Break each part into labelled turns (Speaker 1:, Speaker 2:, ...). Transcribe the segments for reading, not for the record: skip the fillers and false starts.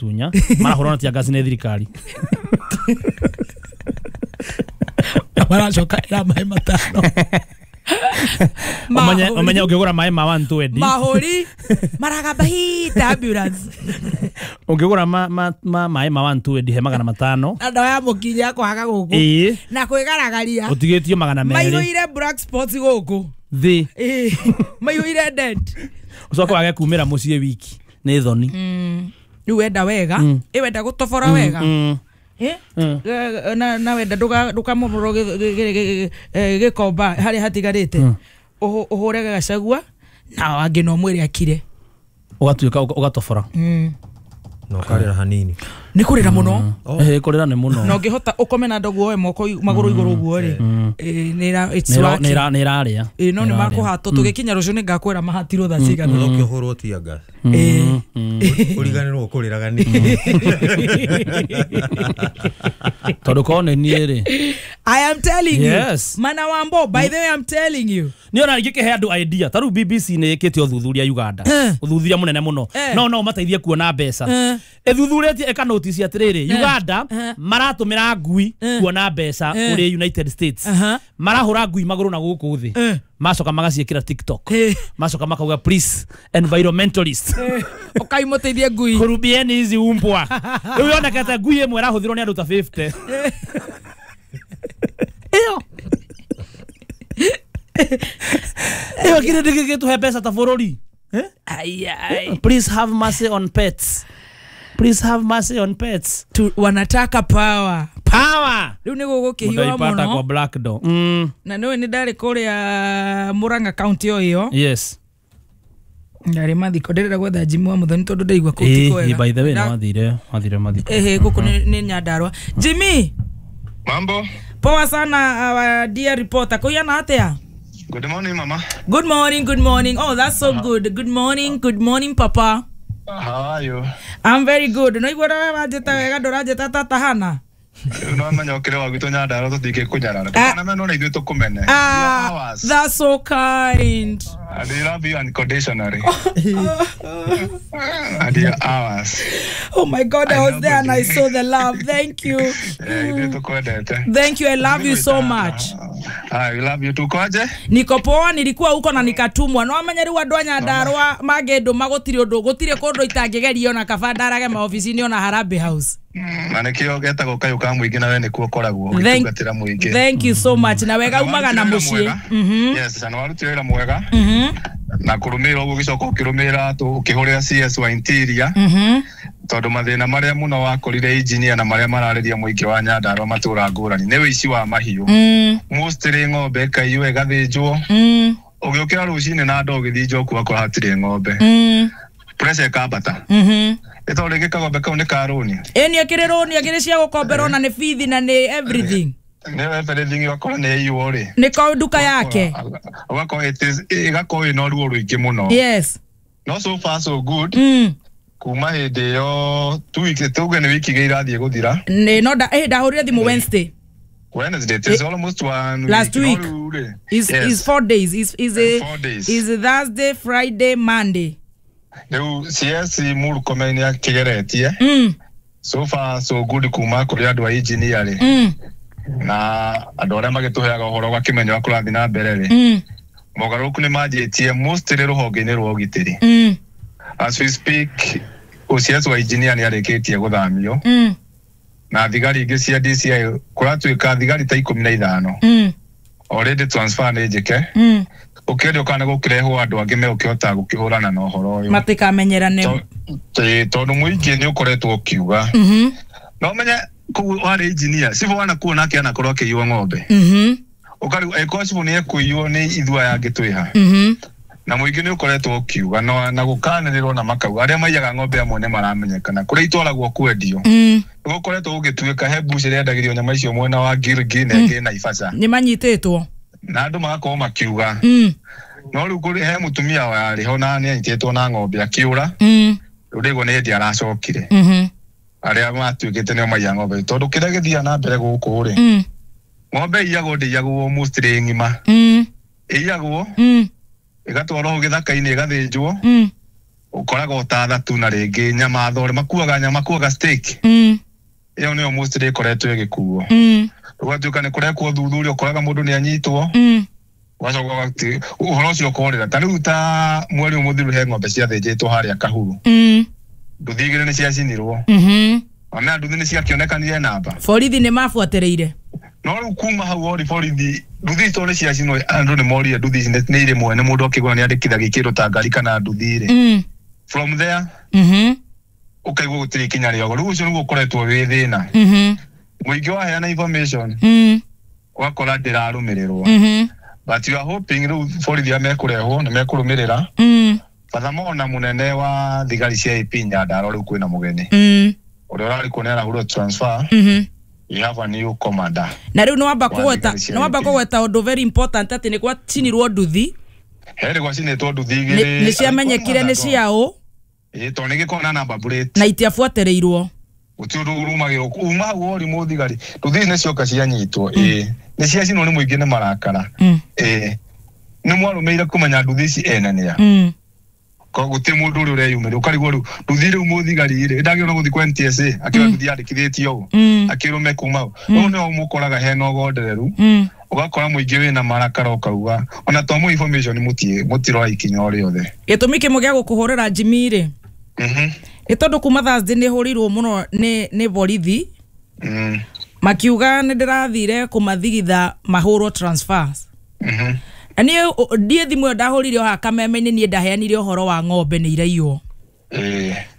Speaker 1: Tunya marahũrwo na tear gas nĩ thirikari.
Speaker 2: Maracoka ĩra maĩ 5.
Speaker 1: Ũmenye ũngĩgũra maĩ ma 120.
Speaker 2: Mahũri maragamba hita ambulance.
Speaker 1: Ũngĩgũra maĩ ma 120 he 500.
Speaker 2: Na ndawa ya mũkinya ya kũhaga gũkũ.
Speaker 1: Ĩĩ.
Speaker 2: Na kwĩgaragaria.
Speaker 1: Ũtigĩtio 200.
Speaker 2: Maihũire black spots gũkũ.
Speaker 1: Thĩ.
Speaker 2: Ĩĩ. Maihũire dead.
Speaker 1: Ũcoke wage kumĩra mũciĩ wiki. Nĩ thoni.
Speaker 2: Rĩu wenda wega. Ĩ wenda gũtobora wega. Na wenda ndũkamomorwo gĩkomba harĩa hatigarĩte. Ũhũre Gachagua na angĩ no mwĩre akire.
Speaker 1: Ũgatuĩka ũgatobora.
Speaker 3: Na ũkarĩra hanini.
Speaker 2: Nĩ kũrĩra mũno.
Speaker 1: Kũrĩra nĩ mũno.
Speaker 2: Na ũngĩhota ũkome na ndogo woe moko magũrũ igũrũ ũguo rĩ. Nĩ
Speaker 1: ĩrarĩa.
Speaker 2: No nĩ makũhatwo tũgĩkinya rũciũ nĩ ngakwĩra mahatirwo thaa cigana.
Speaker 3: Ũcoke ũhũrwo tear gas. Ũriganĩrwo ũkũrĩraga nĩkĩ.
Speaker 1: Tondũ korwo nĩ niĩ rĩ.
Speaker 2: I am telling
Speaker 1: yes.
Speaker 2: you. Mana Wambo, by the way, I'm telling you.
Speaker 1: Nĩ ona ingĩkĩhe andũ idea. Ta rĩu BBC nĩ ĩkĩte ũthuthuria Uganda. Ũthuthuria mũnene mũno. No mateithie kuona mbeca. Ĩthuthurĩtie ĩka notice atĩrĩrĩ, Uganda maratũmĩra ngui kuona mbeca kũrĩ United States. Marahũra ngui magũrũ na gũkũ thĩ. Macoka magaciĩkĩra TikTok. Macoka makauga please environmentalist.
Speaker 2: Ũkaimũteithie ngui.
Speaker 1: Kurubieni hizi umbwa. Rĩu yonekete ngui ĩmwe ĩrahũthĩrwo nĩ andũ ta 50. Ĩyo. Ĩyo kĩrĩ ndĩgĩgĩtũhe mbeca ta bũrũri.
Speaker 2: Ai.
Speaker 1: Please have mercy on pets. Please have mercy on pets.
Speaker 2: Wanataka power.
Speaker 1: Power.
Speaker 2: Rĩu nĩ gũgũkĩhiũha mũno.
Speaker 1: Kwa Black Door.
Speaker 2: Na nĩũĩ nĩ ndarĩ kũrĩa Murang'a County o ĩyo.
Speaker 1: Yes.
Speaker 2: Ndarĩ mathiko ndĩrenda gwetha Jimmy wa Muthoni tondũ ndaigua kũu ti kwega.
Speaker 1: By the way nĩ wathire mathiko.
Speaker 2: Gũkũ nĩ Nyandarua. Jimmy.
Speaker 4: Mambo.
Speaker 2: Poa sana our dear reporter. Kũiyana atĩa?
Speaker 4: Good morning, mama.
Speaker 2: Good morning, good morning. Oh, that's so good. Good morning, good morning, papa.
Speaker 4: How are you?
Speaker 2: I'm very good. No igua ndũranjĩta wega ndũranjĩta tata Hana.
Speaker 4: No menya ũkĩrĩ wa gwitũ Nyandarua tũtingĩkũnyarara. Tũkanamena ona ithuĩ tũkũmene.
Speaker 2: That's so kind.
Speaker 4: And we love you unconditionally. And you're ours.
Speaker 2: Oh my God, I was there and I saw the love. Thank you. Thank you. I love you so much.
Speaker 4: I love you too. Kwaje?
Speaker 2: Niko poa, nilikuwa huko na nikatumwa. No amenye rĩu andũ a Nyandarua mangĩndũma gũtirĩ ũndũ, gũtirĩ kũndũ itangĩgerio na kaba ndarage maobici-inĩ ona Harambee House.
Speaker 4: Na nĩkĩo getagwo kayũ ka mũingĩ na we nĩkuo ũkoragwo ũgĩtungatĩra mũingĩ.
Speaker 2: Thank you so much. Na wega umaga na mũciĩ.
Speaker 4: Yes, na warutire wĩra mwega. Na kũrũmĩrĩra ũguo ũgĩcoka ũkĩrũmĩrĩra ũkĩhũrĩra CS wa Interior. Tondũ mathĩna marĩa mũno wakorire engineer na marĩa mararĩria mũingĩ wa Nyandarua matũra ngũrani nĩ ũici wa mahiũ. Mostly ng'ombe ĩkaiywo ĩgathĩnjwo. Ũgĩũkĩra rũcinĩ na andũ ũgĩthiĩ njoku wakora hatirĩ ng'ombe. Pressure ĩkambata. Ĩ tondũ rĩngĩ kagombe kau nĩ ka rũni.
Speaker 2: Ĩ nĩ ĩkĩrĩ rũni, ĩkĩrĩ cia gũkomberwo na nĩ bithi na nĩ everything.
Speaker 4: Nĩ everything ũgakora nĩ ĩiywo rĩ.
Speaker 2: Nĩ ko nduka yake.
Speaker 4: Ũgakora ĩgakorwo ĩna ruo rũingĩ mũno.
Speaker 2: Yes.
Speaker 4: No so far so good. Kuma hĩndĩ ĩyo tuge nĩ wiki igĩrĩ irathiĩ gũthira.
Speaker 2: Nĩ no ndahũrire thimũ Wednesday.
Speaker 4: Wednesday, it is almost one
Speaker 2: last week. Is yes. 4 days. Is 4
Speaker 4: days.
Speaker 2: Is Thursday, Friday, Monday.
Speaker 4: Rĩu CS Murkomen nĩ akĩgeretie. So far so good kuma kũrĩ andũ a engineer rĩ. Na andũ arĩa magĩtũheaga ũhoro ũgakĩmenya ũrĩa kũrathiĩ na mbere rĩ. Mogarũrũku nĩ manjĩtie mostly rũhonge-inĩ rwa ũgitĩri. As we speak, OCS wa engineer nĩ arĩkĩtie gũthamio. Na thigari ingĩ cia DCI kũratuĩka thigari ta 15. Already transfer nĩ njĩke. Ũkĩendio kana gũkĩrehwo andũ angĩ megũkĩhota gũkĩhũrana na ũhoro ũyũ.
Speaker 2: Matikamenyerane.
Speaker 4: Tondũ mũingĩ nĩ ũkoretwo ũkiuga. No menye kũu warĩ engineer, cibũ wanakuo nake anakorwo akĩiywo ng'ombe. Ũkarigwo angĩkorwo cibũ nĩ ekũiywo nĩ ithuĩ aya angĩ twĩha. Na mũingĩ nĩ ũkoretwo ũkiuga na gũkanĩrĩrwo na makauga arĩa maiyaga ng'ombe amwe nĩ maramenyekana kũrĩa itwaragwo kwendio. Nĩgũkoretwo gũgĩtuĩka he mbuci ĩrĩa yendagĩrio nyama icio mwena wa Gilgil na ĩngĩ Naivasha.
Speaker 2: Nĩ manyitĩtwo.
Speaker 4: Na andũ magakorwo makiuga. No rĩu kũrĩ he mũtumia warĩ ho na nĩ anyitĩtwo na ng'ombe akĩũra. Rĩu ndĩguo nĩ hĩndĩ aracokire. Arĩa matuĩkĩte nĩo maiya ng'ombe tondũ kĩrĩa gĩthiaga na mbere gũkũ rĩ. Ng'ombe iyagwo ndĩiyagwo mostly ng'ima. Ĩiyagwo ĩgatwarwo hau gĩthaka-inĩ ĩgathĩnjwo. Ũkoraga ũtathatũ na rĩngĩ nyama thore makuaga nyama makuaga steak. Ĩyo nĩyo mostly ĩkoretwo ĩgĩkuo. Ũgatuĩka nĩ kũrekwo ũthuthuria ũkoraga mũndũ nĩ anyitwo. Ũgacoka ũhoro ũcio ũkorĩra. Ta rĩu ta mweri ũyũ mũthiru he ng'ombe ciathĩnjĩtwo harĩa Kahuru. Nduthi igĩrĩ nĩ ciacinirwo. Ona nduthi nĩ ciakĩonekanire namba.
Speaker 2: Borithi nĩ mabuatĩrĩire.
Speaker 4: No rĩu kuma hau ori borithi nduthi icio nĩ ciacinwo andũ nĩ morire nduthi ici nĩ irĩ mwene mũndũ akĩgũra nĩ andĩkithagia kĩndũ ta ngari kana nduthi rĩ. From there ũkaigua gũtirĩ ikinya rĩogo. Rĩu ũcio nĩguo ũkoretwo wĩ thĩna. Mũingĩ waheana information ũgakora ndĩrarũmĩrĩrwo. But you are hoping rĩu borithi arĩa mekũrehwo nĩ mekũrũmĩrĩra. Furthermore na mũnene wa thigari cia AP Nyandarua rĩu kwĩna mũgeni. Ũrĩa ũrarĩ kuo nĩ arahũrwo transfer. You have a new commander.
Speaker 2: Na rĩu nĩwamba kũgweta ũndũ very important atĩ nĩ gwacinirwo nduthi.
Speaker 4: He gwacinĩtwo nduthi igĩrĩ.
Speaker 2: Nĩ ciamenyekire nĩ ciaũ.
Speaker 4: Ĩĩ tondũ nĩ gĩkoragwo na number plate.
Speaker 2: Na itiabuatĩrĩirwo.
Speaker 4: Gũtirĩ ũndũ ũrũmagĩrĩrwo. Uma hau ori mũthigari. Nduthi ici nĩ cioka cianyitwo. Ĩĩ nĩ ciacinwo nĩ mũingĩ nĩ marakara. Ĩĩ nĩ mwarũmĩire kũmenya nduthi ici ene nĩa. Gũtirĩ mũndũ ũrĩa ũreyumĩria ũkarigwo rĩu nduthi rĩu mũthigari rĩ ndagĩrĩirwo gũthiĩ kwa NTSA akĩra nduthi yandĩkithĩtio ũũ akĩrũme kuma hau. Rĩu nĩho mũkoraga hena ũgondereru ũgakora mũingĩ wĩna marakara ũkauga ona to mũ information mũtiroya ikinya o rĩothe.
Speaker 2: Gĩtũmi kĩmwe gĩa gũkũhũrĩra Jimmy rĩ nĩ tondũ kuma Thursday nĩ hũrĩirwo mũno nĩ borithi makiuga nĩ ndĩrathire kũmathigitha mahũrwo transfers. Na niĩ ndiĩ thimũ ĩyo ndahũrire o haha kameme-inĩ niĩ ndaheanire ũhoro wa ng'ombe nĩ iraiywo.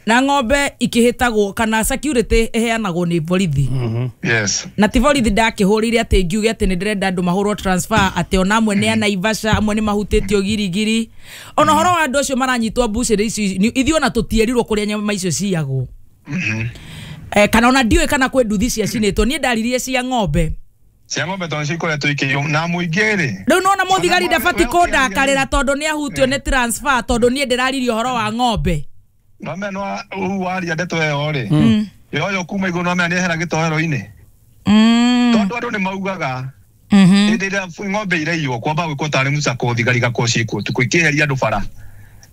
Speaker 2: Na ng'ombe ikĩhĩtagwo kana security ĩheanagwo nĩ borithi.
Speaker 4: Yes.
Speaker 2: Na ti borithi ndakĩhũrĩire atĩ ngiuge atĩ nĩ ndĩrenda andũ mahũrwo transfer atĩ ona amwe nĩ a Naivasha amwe nĩ mahutĩtio girigiri. Ona ũhoro wa andũ acio maranyitwo mbucĩrĩ ici ithuĩ ona tũtierirwo kũrĩa nyama icio ciyagwo. Kana ona ndiũĩ kana kwĩ nduthi ciacinĩtwo niĩ ndaririe cia ng'ombe.
Speaker 4: Cia ng'ombe tondũ cikoretwo ikĩiywo na mũingĩ rĩ.
Speaker 2: Rĩu nona mũthigari ndabati kũndakarĩra tondũ nĩ ahutio nĩ transfer tondũ niĩ ndĩraririe ũhoro wa ng'ombe.
Speaker 4: No mena rĩu waria ndeto ĩyo rĩ. Yoyo kuma igũrũ no mena nĩehera gĩtoero-inĩ. Tondũ andũ nĩ maugaga hĩndĩ ĩrĩa ng'ombe iraiywo kwamba gwĩkwo tarĩ mũcako thigari igakorwo ciĩkuo ũtukũ ikĩeheria andũ bara.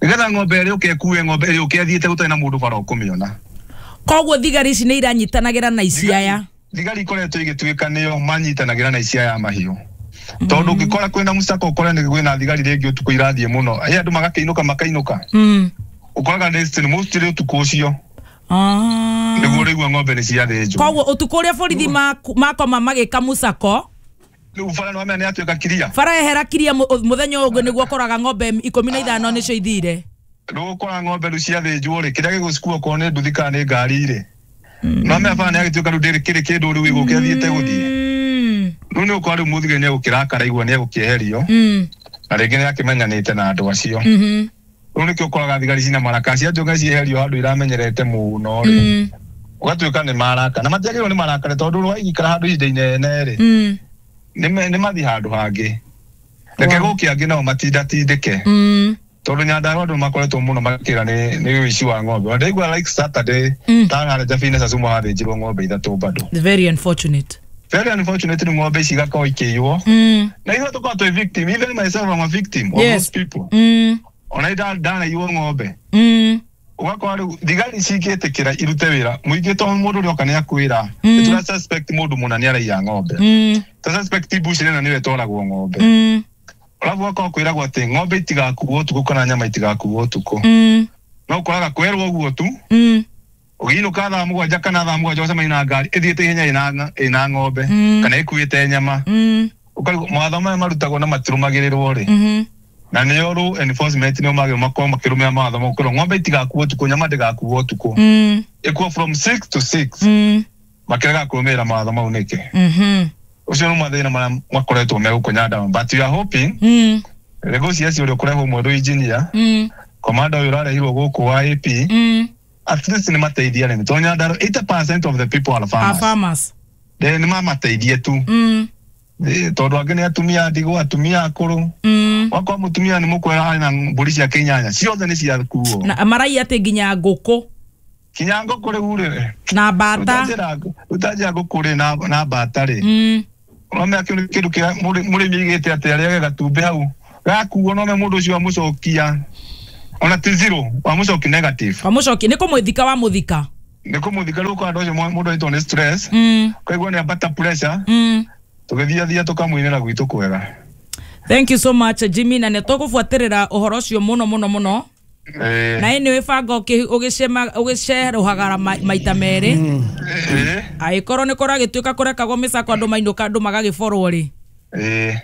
Speaker 4: Nĩgetha ng'ombe ĩrĩa ĩũke ĩkue ng'ombe ĩrĩa ĩũke ĩthiĩte gũtarĩ na mũndũ bara ũkũmĩona.
Speaker 2: Koguo thigari ici nĩ iranyitanagĩra na ici aya.
Speaker 4: Thigari ikoretwo igĩtuĩka nĩo manyitanagĩra na ici aya mahiũ. Tondũ ũngĩkora kwĩna mũcako ũkore nĩ kwĩna thigari rĩngĩ ũtukũ irathiĩ mũno. Ĩ andũ magakĩinũka makainũka. Ũkoraga nĩ mostly ũtukũ ũcio. Nĩguo ũraigua ng'ombe nĩ ciathĩnjwo.
Speaker 2: Koguo ũtukũ ũrĩa borithi makoma magĩka mũcako.
Speaker 4: Rĩu bara nĩ wamenya nĩ yatuĩka kiria.
Speaker 2: Bara ehera kiria mũthenya ũyũ ũngĩ nĩguo ũkoraga ng'ombe 15 nĩcio ithire.
Speaker 4: Rĩu ũkora ng'ombe rĩu ciathĩnjwo rĩ kĩrĩa gĩgũcikua okorwo nĩ nduthi kana nĩ ngari rĩ. No mea bara nĩ agĩtuĩka rĩu ndĩrĩ kĩrĩ kĩndũ rĩu gĩgũke athiĩte gũthiĩ. Rĩu nĩ ũkora rĩu mũthigari nĩ egũkĩrakara igua nĩ egũkĩeherio. Na rĩngĩ nĩ akĩmenyanĩte na andũ acio. Rĩu nĩkĩo ũkoraga thigari cina maraka ciatuĩka cieherio handũ iramenyerete mũno rĩ. Ũgatuĩka nĩ maraka na matiagĩrĩirwo nĩ marakare tondũ rwaikara handũ ihinda inene rĩ. Nĩ mathiĩ handũ hangĩ. Reke gũke angĩ nao matindatindĩke. Tondũ Nyandarua andũ makoretwo mũno makĩra nĩ ũici wa ng'ombe. Ndaigua like Saturday ta harĩa Jabine Sasuma hathĩnjirwo ng'ombe ithatũ bado.
Speaker 2: Very unfortunate.
Speaker 4: Very unfortunate nĩ ng'ombe ici igakorwo ikĩiywo. Na ithuĩ tũkoragwo twĩ victim, even myself I'm a victim of those people. Ona ndanaiywo ng'ombe. Ũgakora rĩu thigari cingĩtĩkĩra irute wĩra mũingĩ tondũ mũndũ ũrĩa oka nĩ akwĩra nĩ suspect mũndũ mũna nĩ araiya ng'ombe. Tũ suspect mbucĩrĩ ĩno nĩyo ĩtwaragwo ng'ombe. Alafu ũgakorwo kwĩragwo atĩ ng'ombe itigakuo ũtukũ kana nyama itigakuo ũtukũ. No ũkoraga kwerwo ũguo tu ũgĩinũka thaa mũgwanja kana thaa mũgwanja ũcemanie na ngari ĩthiĩte ihenya ĩna ng'ombe kana ĩkuĩte nyama. Ũkarigwo mawatho maya marutagwo na matirũmagĩrĩrwo rĩ. Na nĩo law enforcement nĩo magĩrĩirwo makorwo makĩrũmĩrĩra mawatho mau kwĩrwo ng'ombe itigakuo ũtukũ nyama ndĩgakuo ũtukũ. Ĩkuo from 6 to 6. Makĩrega kũrũmĩrĩra mawatho mau nĩkĩ. Ũcio nĩ mathĩna marĩa makoretwo me gũkũ Nyandarua but we are hoping rĩngĩ CS ũrĩa ũkũrehwo mwerũ engineer commander ũyũ ũrarehirwo gũkũ wa AP at least nĩ mateithie arĩmi tondũ Nyandarua 80% of the people are farmers. Nĩ mamateithie tu. Tondũ angĩ nĩ atumia ndigwa atumia akũrũ. Wakorwo mũtumia nĩ mũkwera arĩ na mbũri ciake inyanya ciothe nĩ ciakuo.
Speaker 2: Na maraiya atĩ nginya ngũkũ.
Speaker 4: Kinya ngũkũ rĩu rĩ.
Speaker 2: Na mbata.
Speaker 4: Ũtanjĩra ngũkũ rĩ na mbata rĩ. Ũramenya kĩu nĩ kĩndũ kĩrĩa mũrĩmi aigĩte atĩ arĩage gatumbĩ hau gakuo no me mũndũ ũcio amũcokia. Ona ti zero wamucoki negative.
Speaker 2: Wamucoki nĩ kũmũthika wamuthika.
Speaker 4: Nĩ kũmũthika rĩu kwa andũ acio mũndũ aitwo nĩ stress. Koguo nĩ ambata pressure. Tũgĩthiathia tũkamũinĩra gwitũ kwega.
Speaker 2: Thank you so much Jimmy, na nĩ tũgũbuatĩrĩra ũhoro ũcio mũno mũno mũno. Na anyway banga ũgĩcerohagara maita merĩ. Angĩkorwo nĩ kũragĩtuĩka kũrekagwo mĩcako andũ mainũka andũ magagĩborwo rĩ.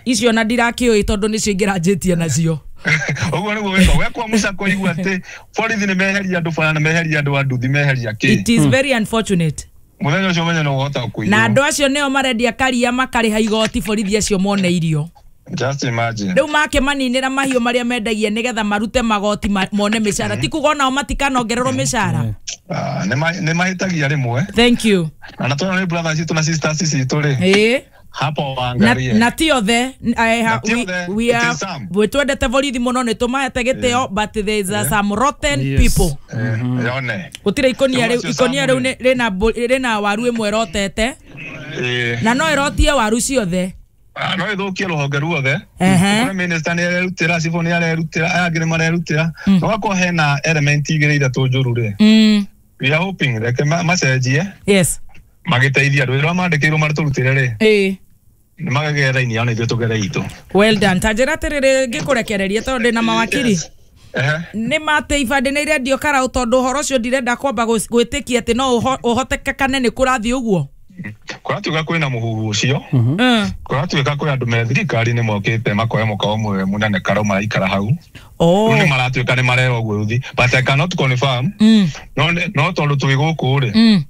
Speaker 2: Icio na ndirakĩũĩ tondũ nĩcio ingĩranjĩtie nacio.
Speaker 4: Ũguo nĩguo wĩka wekwa mũcako igua atĩ borithi nĩ meheria andũ bara na meheria andũ a nduthi meheria kĩ.
Speaker 2: It is very unfortunate.
Speaker 4: Mũthenya ũcio menye no ũhota kũiywo.
Speaker 2: Na andũ acio nĩo marendia karia makarĩha igoti borithi acio mone irio.
Speaker 4: Just imagine.
Speaker 2: Rĩu makĩmaninĩra mahiũ marĩa mendagia nĩgetha marute magoti mone mĩcara. Ti kuga onao matikanongererwo mĩcara.
Speaker 4: Nĩ mahĩtagia rĩmwe.
Speaker 2: Thank you.
Speaker 4: Na tondũ nĩ brothers citũ na sisters citũ rĩ. Hapo waangalie.
Speaker 2: Na ti othe. We are we twendete borithi mũno nĩ tũmahete gĩtĩo, but there is some rotten people.
Speaker 4: Yone.
Speaker 2: Gũtirĩ ikonia rĩu, ikonia rĩu rĩna waru ĩmwe ĩrotete. Na no ĩrotie waru ciothe.
Speaker 4: No ĩthũkie rũhonge ruothe. Kũrĩ minister nĩ arerutĩra, cibũ nĩ arerutĩra, aya angĩ nĩ marerutĩra. No gakorwo hena element igĩrĩ ithatũ njũru rĩ. We are hoping reke macenjie.
Speaker 2: Yes.
Speaker 4: Magĩteithia andũ arĩa mandĩkĩirwo matũrutĩre rĩ. Nĩ makagera raini yao na ithuĩ tũgere itũ.
Speaker 2: Well done. Ta njĩra atĩrĩrĩ ngĩkũrekereria tondũ ndĩna mawakiri. Nĩ matĩ ibandĩ nĩ irendio karaũ tondũ ũhoro ũcio ndirenda kwamba gwĩtĩkia atĩ no ũhotekekane nĩ kũrathiĩ ũguo.
Speaker 4: Kũratuĩka kwĩna mũhuhu ũcio. Kũratuĩka kwĩ andũ me thirikari-inĩ mokĩte makoya mũkawa ũmwe mũnene karaũ maraikara hau. Rĩu nĩ maratuĩka nĩ marerwo ũguo rũthi. But I cannot confirm. No tondũ twĩ gũkũ rĩ.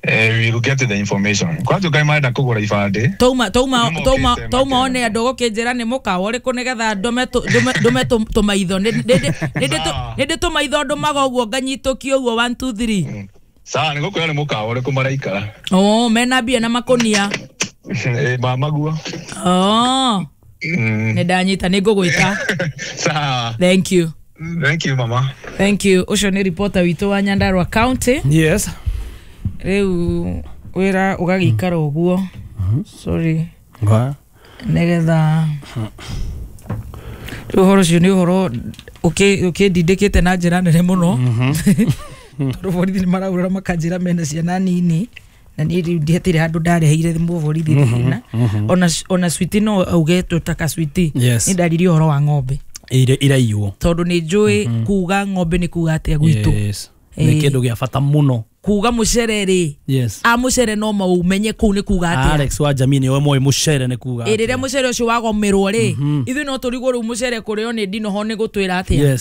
Speaker 4: We will get the information. Kũratuĩka nĩ marenda kũgũra ibandĩ.
Speaker 2: Tauma one andũ gũkĩnjĩra nĩ mũkawa ũrĩkũ nĩgetha ndũme tũmaitho. Nĩ ndĩ tũmaitho ndũmaga ũguo nganyitũkia ũguo 1 2 3.
Speaker 4: Sawa, nĩ gũkwĩra nĩ mũkawa ũrĩkũ maraikara.
Speaker 2: Oh, mena mbia na makũnia.
Speaker 4: Mamaguo.
Speaker 2: Oh. Nĩ ndanyita nĩ ngũgwĩta.
Speaker 4: Sawa.
Speaker 2: Thank you.
Speaker 4: Thank you mama.
Speaker 2: Thank you. Ũcio nĩ reporter witũ wa Nyandarua County.
Speaker 1: Yes.
Speaker 2: Rĩu wĩra ũgagĩikara ũguo. Sorry. Nĩgetha rĩu ũhoro ũcio nĩ ũhoro ũkĩndindĩkĩte na njĩra nene mũno. Tondũ borithi nĩ maraurĩra makanjĩra mena ciana nini na niĩ rĩu ndihatirĩ handũ ndareheire mũborithi thĩna. Ona switi no auge twĩtaka switi. Nĩ ndaririe ũhoro wa ng'ombe
Speaker 1: iraiywo
Speaker 2: tondũ nĩ njũĩ kuga ng'ombe nĩ kuga atĩa gwitũ.
Speaker 1: Nĩ kĩndũ gĩa bata mũno.
Speaker 2: Kuga mũcere rĩ, a mũcere no maumenye kũu nĩ kuga atĩa.
Speaker 1: Alex wa jamii nĩwe moĩ mũcere nĩ kuga atĩa.
Speaker 2: Rĩrĩa mũcere ũcio wagomerwo rĩ, ithuĩ no tũrigwo rĩu mũcere kũrĩo nĩ ndinoho nĩ gũtwĩra atĩa.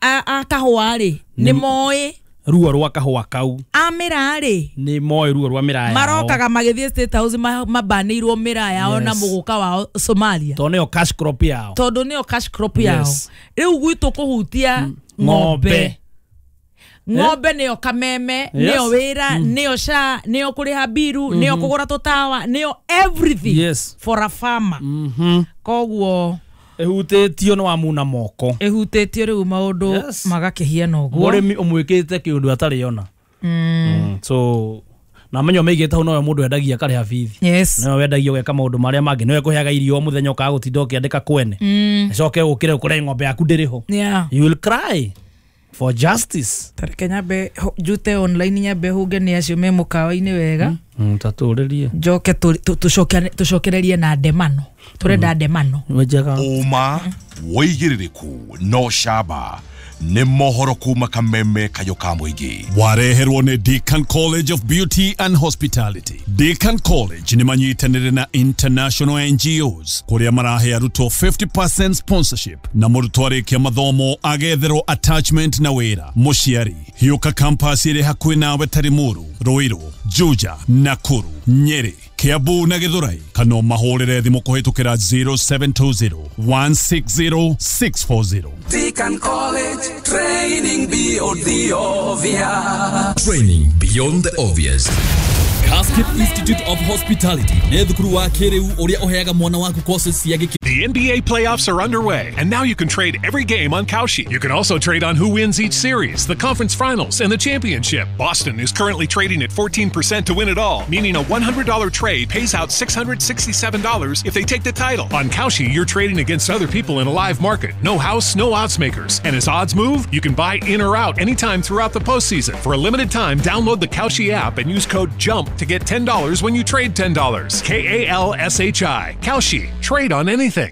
Speaker 2: A kahũa rĩ, nĩ moĩ
Speaker 1: ruo rwa kahũa kau.
Speaker 2: A mĩraa rĩ,
Speaker 1: nĩ moĩ ruo rwa mĩraa yao.
Speaker 2: Marokaga magĩthiĩ State House mabanĩirwo mĩraa yao na mũgũka wao Somalia.
Speaker 1: Tondũ nĩyo cash crop yao.
Speaker 2: Tondũ nĩyo cash crop yao. Rĩu gwitũ kũhutia ng'ombe. Ng'ombe nĩyo kameme, nĩyo wĩra, nĩyo SHA, nĩyo kũrĩha biru, nĩyo kũgũra tũtawa, nĩyo everything for a farmer. Koguo
Speaker 1: ĩhutĩtio nĩ wamuna moko.
Speaker 2: Ĩhutĩtio rĩu maũndũ magakĩhiana ũguo.
Speaker 1: Mũrĩmi ũmwĩkĩte kĩũndũ atarĩ ona. So na menyo meigĩte hau nowe mũndũ endagia akarĩha bithi. Nowe wendagia ũgeka maũndũ marĩa mangĩ, nowe kũheaga irio o mũthenya ũkaga gũtinda ũkĩandĩka kwene. Ĩcoke ũkĩre ũkore ng'ombe yaku ndĩrĩ ho. You will cry for justice.
Speaker 2: Tareke nyambe njute online nyambe hunge nĩ acio me mũkawa-inĩ wega.
Speaker 1: Tatũrĩrie.
Speaker 2: Njoke tũcokererie na ndemano. Tũrenda ndemano.
Speaker 5: Ũma wĩigĩrĩrĩku no camba nĩ mohoro kuma kameme kayo ka mũingĩ.
Speaker 6: Wareherwo nĩ Deacon College of Beauty and Hospitality. Deacon College nĩ manyitanĩire na international NGOs kũrĩa marahe arutwo 50% sponsorship na mũrutwo arĩkia mathomo agetherwo attachment na wĩra. Mũciari hiũka campus ĩrĩ hakuhĩ nawe ta Limuru, Ruiru, Juja, Nakuru, Nyeri, Kiambu na Githurai, kana mahũrĩre thimũ kũhĩtũkĩra 0720 160 640.
Speaker 7: Deacon College, training beyond the obvious.
Speaker 8: Training beyond the obvious. Casket Institute of Hospitality nĩ thukuru wa kĩrĩu ũrĩa ũheaga mwana waku courses cia gĩkĩro.
Speaker 9: The The NBA playoffs are underway, and now you can trade every game on Kalshi. You can also trade on who wins each series, the conference finals, and the championship. Boston is currently trading at 14% to win it all, meaning a $100 trade pays out $667 if they take the title. On Kalshi, you're trading against other people in a live market. No house, no odds makers. And as odds move, you can buy in or out anytime throughout the postseason. For a limited time, download the Kalshi app and use code JUMP to get $10 when you trade $10. K-A-L-S-H-I. Kalshi. Trade on anything.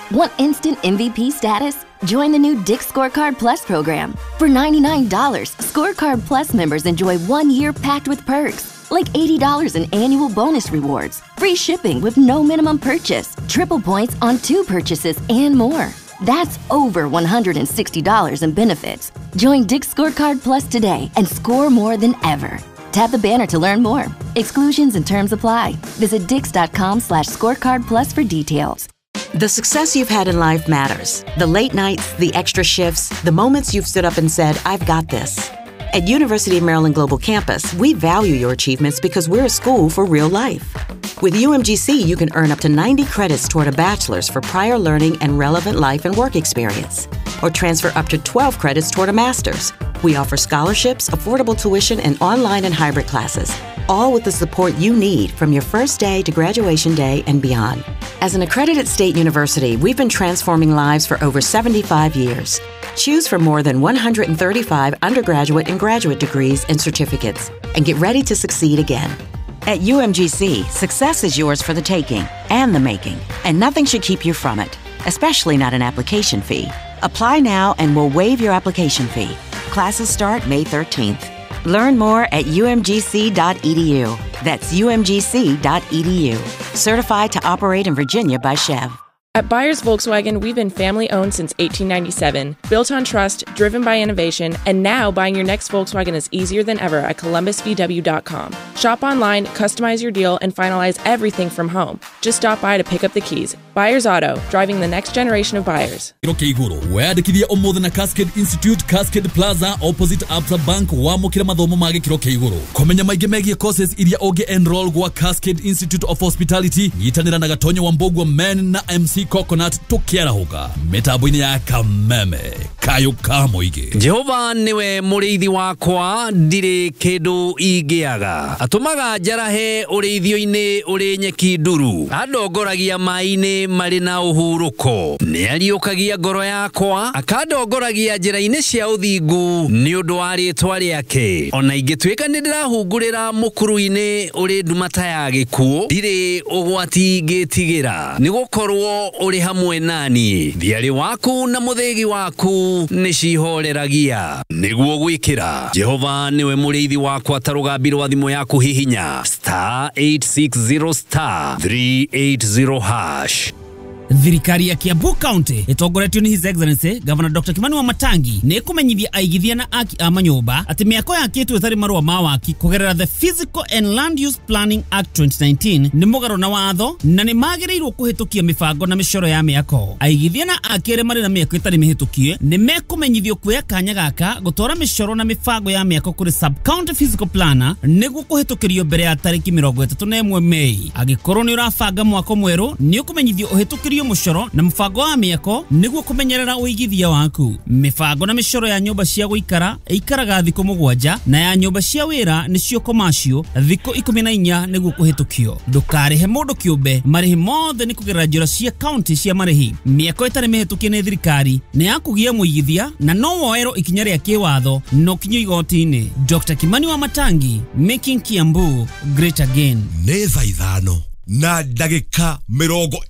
Speaker 10: Want instant MVP status? Join the new Dick's Scorecard Plus program. For $99, Scorecard Plus members enjoy 1 year packed with perks, like $80 in annual bonus rewards, free shipping with no minimum purchase, triple points on 2 purchases, and more. That's over $160 in benefits. Join Dick's Scorecard Plus today and score more than ever. Tap the banner to learn more. Exclusions and terms apply. Visit dicks.com/scorecard plus for details.
Speaker 11: The success you've had in life matters. The late nights, the extra shifts, the moments you've stood up and said, I've got this. At University of Maryland Global Campus, we value your achievements because we're a school for real life. With UMGC, you can earn up to 90 credits toward a bachelor's for prior learning and relevant life and work experience, or transfer up to 12 credits toward a master's. We offer scholarships, affordable tuition, and online and hybrid classes, all with the support you need from your first day to graduation day and beyond. As an accredited state university, we've been transforming lives for over 75 years. Choose from more than 135 undergraduate and graduate degrees and certificates, and get ready to succeed again. At UMGC, success is yours for the taking and the making, and nothing should keep you from it, especially not an application fee. Apply now and we'll waive your application fee. Classes start May 13th. Learn more at umgc.edu. That's umgc.edu. Certified to operate in Virginia by Chev.
Speaker 12: At Buyers Volkswagen, we've been family-owned since 1897, built on trust, driven by innovation, and now buying your next Volkswagen is easier than ever at ColumbusVW.com. Shop online, customize your deal, and finalize everything from home. Just stop by to pick up the keys. Buyers Auto, driving the next generation of buyers.
Speaker 8: Weyandĩkithie ũmũthĩ na Cascade Institute, Cascade Plaza, opposite Absa Bank, wamũkĩre mathomo ma gĩkĩro kĩa igũrũ. Kũmenya maingĩ megiĩ courses iria ũngĩ enroll gwa Cascade Institute of Hospitality, nyitanĩra na Gatonyo wa Mbogua Men na MC Coconut tukiarahũka mĩtambo-inĩ ya Kameme kayũ ka mũingĩ.
Speaker 13: Jehova niwe mũrĩithi wakwa, ndirĩ kĩndũ ingĩaga. Atũmaga njarahe ũrĩithio-inĩ ũrĩ nyeki nduru, andongoragia maĩ-inĩ marĩ na ũhurũko. Nĩariũkagia ngoro yakwa, akandongoragia njĩra-inĩ cia ũthingu nĩ ũndũ wa rĩĩtwa rĩake. Ona ingĩtuĩka nĩ ndĩrahungurĩra mũkuru-inĩ ũrĩ nduma ta ya gĩkuũ, ndirĩ ũgwati ingĩtigĩra, nĩgũkorwo ũrĩ hamwe nani. Thiarĩ waku na mũthĩgi waku nĩcihoreragia. Nĩguo gwĩkĩra Jehova nĩwe mũrĩithi wakwa ta rũgambi rwa thimũ yaku hihinya star 860 star 380 hash.
Speaker 14: Thirikari ya Kiambu County ĩtongoretio nĩ His Excellency Governor Dr. Kimani Wamatangi nĩ ĩkũmenyithia aigithia na aki a manyũmba atĩ mĩako yakĩtwo ĩtarĩ marũa ma waki kũgerera the Physical and Land Use Planning Act 2019 nĩ mũgarũ na watho na nĩ magĩrĩirwo kũhĩtũkia mĩbango na mĩcoro ya mĩako. Aigithia na aki arĩa marĩ na mĩako ĩtarĩ mĩhĩtũkie nĩ mekũmenyithio kuoya kanya gaka gũtwara mĩcoro na mĩbango ya mĩako kũrĩ sub county physical planner nĩguo kũhĩtũkĩrio mbere ya tarĩki 31 Mei. Angĩkorwo nĩ ũrabanga mwako mwerũ nĩ ũkũmenyithio ũhĩtũkĩrio mũcoro na mũbango wa mĩako nĩguo kũmenyerera ũigithia waku. Mĩbango na mĩcoro ya nyũmba cia gũikara ĩikaraga thikũ 7 na ya nyũmba cia wĩra nĩcio commercial thikũ 14 nĩguo kũhĩtũkio. Ndũkarĩhe mũndũ kĩũmbe, marĩhi mothe nĩ kũgerera njĩra cia county cia marĩhi. Mĩako ĩtarĩ mĩhĩtũkie nĩ thirikari nĩ ya kũgia mũigithia na no woerwo ikinya rĩa kĩwatho no kinyo igoti-inĩ. Dr. Kimani Wamatangi, making Kiambu great again.
Speaker 5: Nĩ thaa 5 na ndagĩka 20.